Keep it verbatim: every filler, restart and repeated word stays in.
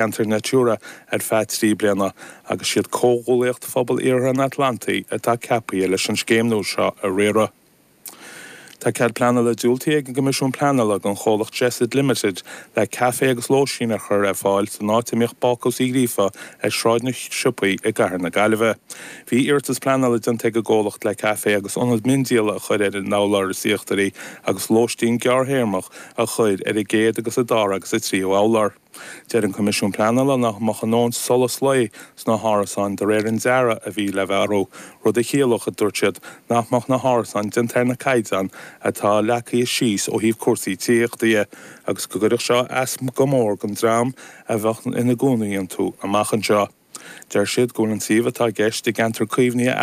Ceantar Natura ar feadh trí bliana agus siad Comhghuaillíocht Phobal Iarthar an Atlantaigh atá ceaptha leis an scéim nua seo a riaradh. Tá cead pleanála diúltaithe ag an gCoimisiún Pleanála don chomhlacht Jessid Limited le caife agus lóistín a chur ar fáil san áit a mbíodh Bácús Uí Ghríofa ar Sráid na Siopaí i gCathair na Gaillimhe. Bhí iarratas pleanála déanta ag an gcomhlacht le caife agus ionad miondíola a chur ar an urlár is íochtaraí agus lóistín gearrthéarmach a chur ar an gcéad agus an dara agus an tríú urlár. Deir an Coimisiún Pleanála nach mbeadh a ndóthain solas lae sna hárasáin de réir an dearaidh a bhí le bheith orthu, rud a chiallódh a dúirt siad nach mbeadh na hárasáin déanta ar na caighdeáin atá leagtha síos ó thaobh cúrsaí tithíochta de agus go gcuirfeadh seo as go mór don dream a bheadh ina gcónaí iontu amach anseo. Deir siad go bhfuil an suíomh atá i gceist i gceantar caomhnaithe